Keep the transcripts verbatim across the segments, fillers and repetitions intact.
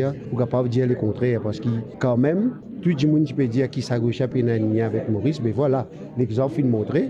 Ou kapav dir lekontrer, parski kanmem, tou dimoun ti pe dir ki sa gos la pena enn lien avek Moris, me vwala, lexanp finn montre.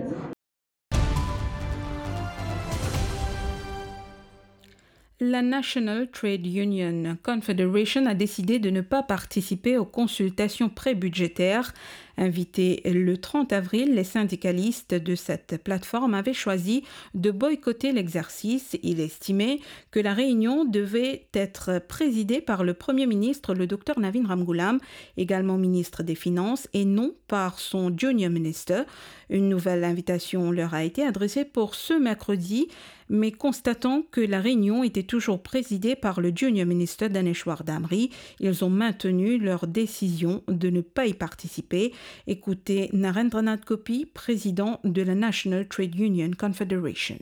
La National Trade Union Confederation a décidé de ne pas participer aux consultations pré-budgétaires. Invité le trente avril, les syndicalistes de cette plateforme avaient choisi de boycotter l'exercice. Il estimait que la réunion devait être présidée par le Premier ministre, le docteur Navin Ramgoolam, également ministre des Finances, et non par son junior minister. Une nouvelle invitation leur a été adressée pour ce mercredi, mais constatant que la réunion était toujours présidée par le junior minister Daneshwar Damri, ils ont maintenu leur décision de ne pas y participer. Écoutez Narendranath Gopi, président de la National Trade Union Confederation.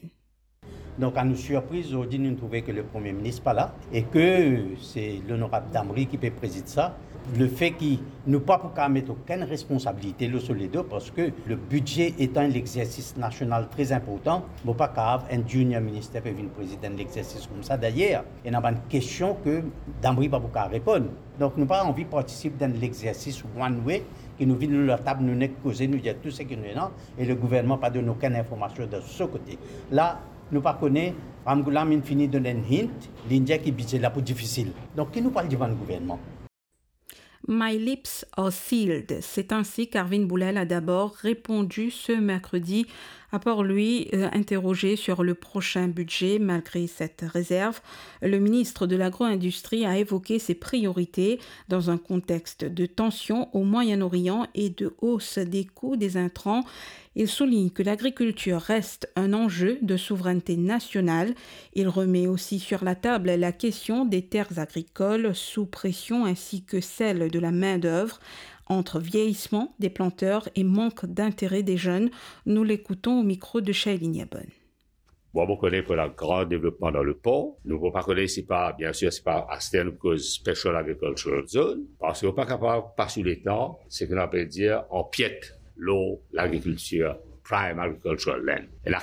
Donk, a nou sirpriz, zordi nou trouve ke le Premie Minis pa la e ke se Lonorab Damri ki pe prezid sa. Lefe ki nou pa pou kapav met okenn responsabilite lor so ledo, parski le bidze etan enn lexersis nasional tre inportan, mo pa kapav enn junior minister pe vinn prezid enn lexersis koumsa. Dayer, ena bann kestion ke Damri pa pou kapav reponn. Donk, nou pa anvi partisip dan enn lexersis one way, ki nou vinn lor latab, nou nek koze, nou dir tou seki nou ena, e le gouvernman pa donn okenn informasion de so kote. La, nou pa kone, Ramgoolam inn fini donn enn hint, li'nn dir ki bidze la pou difisil. Donk, ki nou pou al dimann gouvernman? My lips are sealed. C'est ainsi qu'Arvind Boolel a d'abord répondu ce mercredi. À part lui, euh, interrogé sur le prochain budget, malgré cette réserve, le ministre de l'Agro-industrie a évoqué ses priorités dans un contexte de tension au Moyen-Orient et de hausse des coûts des intrants. Il souligne que l'agriculture reste un enjeu de souveraineté nationale. Il remet aussi sur la table la question des terres agricoles sous pression ainsi que celle de la main-d'œuvre. Entre vieillissement des planteurs et manque d'intérêt des jeunes, nous l'écoutons au micro de Shailene Yabon. Bon, mo kone pou ena gran devlopman dan lepor. Nou pou pa kone si pa, bien sir, si pa aster nou koz special agricultural zone, parski nou pa kapav pas ou letan, seki nou apel dir, anpiet lor lagrikiltir, prime agricultural land. Ena